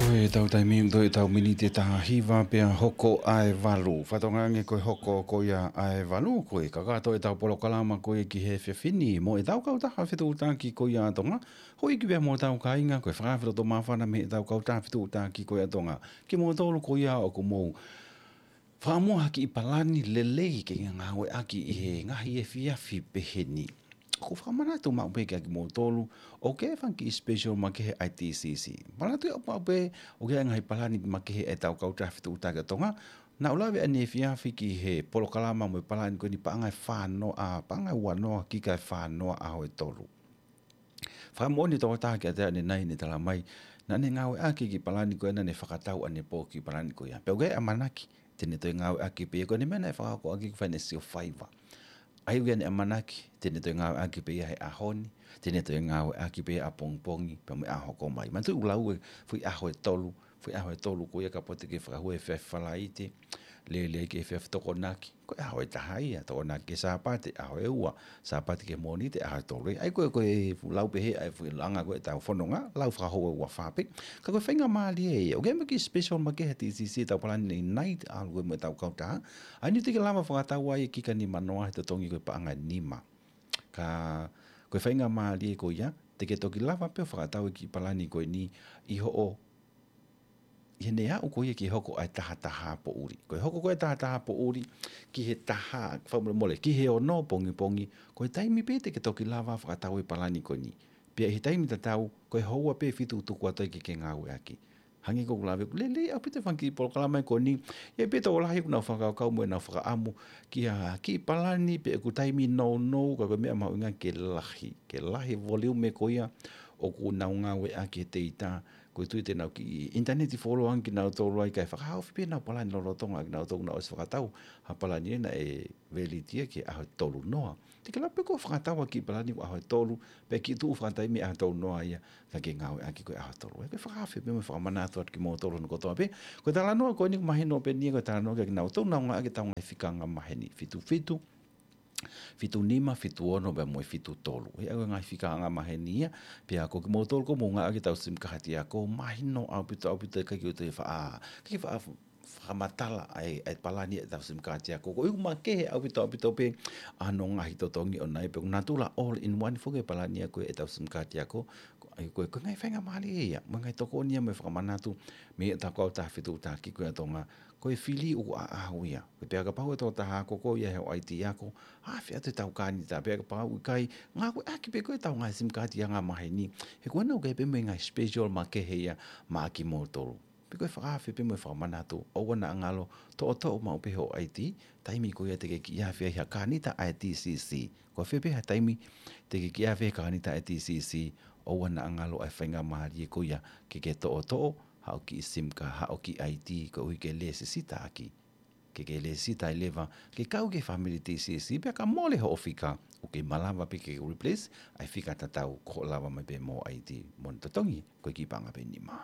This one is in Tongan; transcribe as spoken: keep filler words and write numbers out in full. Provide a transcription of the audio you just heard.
Ko ʻetau taimi ʻoku toe ʻetau miniti ʻe taha hiva pea hoko ʻa e valu. Fakatokangaʻi ko e hoko ko ia ʻa e valu, ko e kakato ʻetau polokalama ko ia ki he efiafi ni mo ʻetau kautaha fetuʻutaki ko ia ʻa Tonga. Houʻeiki pea mo hotau kāinga, ko e fakaafe loto māfana mei heʻetau kautaha fetuʻutaki ko ia ʻa Tonga kimoutolu ko ia ʻoku mou fakamoʻoni ki he palani lelei ke ngāueʻaki ʻi he ngaahi efiafi pehē ni. ʻOku ou fakamanatu maʻu pē kiate kimoutolu ʻoku ʻi ai e fanga kiʻi special makehe ʻa e T C C. Manatuʻi ʻoku maʻu pē ʻoku ʻi ai e ngaahi palani makehe ʻa ʻetau kautaha fetuʻutaki ʻa Tonga. Naʻá ku lave ʻanenai he efiafi ki he polokalama mo e palani ko eni, paʻanga ʻe fā noa, paʻanga ʻe ua noa ki he paʻanga ʻe fā noa ʻaho ʻe tolu. Fakamoʻoni e tokotaha kiate au ʻanenai, ne talamai naʻá ne ngāueʻaki e kiʻi palani ko ia, naʻá ne fakatau ʻanepō e kiʻi palani ko ia. Pea ʻoku ʻi ai e ʻamanaki te ne toe ngāueʻaki pē ia, ko ʻene meʻa naʻe fakahoko ʻaki e financial faiva. ʻA ia ʻoku ʻi ai ʻene ʻamanaki te ne toe ngāueʻaki pē ia he ʻaho ni, te ne toe ngāueʻaki pē ia ʻapongipongi pea mo e ʻaho ʻoku hoko mai. Manatuʻi ʻoku lau e foʻi ʻaho ʻe tolu, foʻi ʻaho ʻe tolu ko ia, kapau te ke fakahū he efiafi Falaite, lele ki he efiafi Tokonaki, ko e ʻaho ʻe taha ia. Tokonaki ki he Sāpate, ʻaho ʻe ua. Sāpate ki he Mōnite, ʻaho ʻe tolu. ʻA ia ko e, ko e lau pehē ʻa e foʻi langa ko ē ʻetau fononga, lau fakahoko ʻe ua fā pē. Ka ko e faingamālie ia. ʻOku ʻi ai mo e kiʻi special makehe ʻa e T C C, ʻetau palani ʻanenai, ʻalu ko ē mo ʻetau kautaha. ʻA ia ʻoku te ke lava fakatau ai e kika nima noa he totongi ko e paʻanga ʻe nima. Ka ko e faingamālie ko ia, te ke toki lava pē ʻo fakatau e kiʻi palani ko eni ʻi hoʻo, ʻi heʻene aʻu ko ia ki he hoko ʻa e taha taha poʻuli. Ko e hoko ko ē ʻa e taha taha poʻuli ki he taha, fakamolemole, ki he ono pongipongi, ko e taimi pē te ke toki lava fakatau e palani ko eni. Pea ʻi he taimi tatau, ko e houa pē ʻe fitu ʻoku tuku atu ai ke ke ngāueʻaki. Hangē ko ʻeku lave, ʻoku lelei ʻaupito e fanga kiʻi polokalama ko eni. ʻI ai pē tokolahi ʻoku nau fakakaukau mo ʻenau fakaʻamu ki ha kiʻi palani pē ʻoku taimi nounou, ka ko e meʻa mahuʻinga ke lahi, ke lahi e volume ko ia ʻoku nau ngāueʻaki he teita. Ko e tui te nau kiʻi ʻinitaneti follow ange kinautolu ai, kae fakahaofi pē ʻenau palani lolotonga kinautolu, nau ʻosi fakatau ha palani ʻe naʻe valid ia ki he ʻaho ʻe tolu noa. Te ke lava pē koe ʻo fakatau ha kiʻi palani ʻaho ʻe tolu, pea kiʻi tuʻu fakataimi ʻaho ʻe tolu noa ia, ka ke ngāueʻaki ko e ʻaho ʻe tolu. ʻA ia ko e fakaafe pē mo e fakamanatu atu kimoutolu hono kotoa pē. Ko e talanoa ko eni ʻoku mahino pē eni, ko e talanoa kiate kinautolu naʻa nau ngāueʻaki ʻetau ngaahi fika angamaheni. Fitu fitu, fitu nima, fitu ono, pea mo e fitu tolu. ʻA ia ko e ngaahi fika angamaheni ia, pea ko kimoutolu ʻoku mou ngāueʻaki ʻetau SIM card ako, mahino ʻaupito, ʻaupito, ʻikai ke toe faʻa, ʻikai ke faʻa fakamatala ʻa e, ʻa e palani ʻetau SIM card ako. Ko e ʻuhinga makehe ʻaupito, ʻaupito pē ʻa hono ngaahi totongi ʻoʻona ia, pea ʻoku natula all in one foki e palani ako ʻetau SIM card ako. Ko e, ko e, ko e ngaahi faingamālie ia, mo e ngaahi tokoni ia mo e fakamanatu mei heʻetau kautaha fetuʻutaki ko ia ʻa Tonga. Ko e fili ʻoku ʻaʻau ia. Ko e pea kapau ʻe tō taha ako ko ia he ʻaiti ako, ʻave atu ʻetau kānita, pea kapau ʻikai, ngāueʻaki pē ko ē ʻetau ngaahi SIM card angamaheni. He ko ena ʻoku ʻi ai pē mo e ngaahi special makehe ia maʻa kimoutolu. Pea ko e fakaafe pē mo e fakamanatu, ʻoua naʻa ngalo, toʻotoʻo maʻu pē hoʻo ʻaiti, taimi ko ia te ke kiʻi ʻave ai ha kānita ʻa e T C C. Ko fē pē ha taimi te ke kiʻi ʻave ai ha kānita ʻa e T C C, ʻoua naʻa ngalo ʻa e faingamālie ko ia ke ke toʻotoʻo haʻo kiʻi SIM card, haʻo kiʻi ʻaiti, koeʻuhi ke lēsisita ʻaki. Ke ke lēsisita ai leva, ke kau ki he fāmili T C C, pea ka mole hoʻo fika, ʻoku kei malava pē ke replace ʻa e fika tatau, ko hoʻo lava mai pē mo hoʻo ʻaiti mo hono totongi ko e kiʻi paʻanga pē ʻe nima.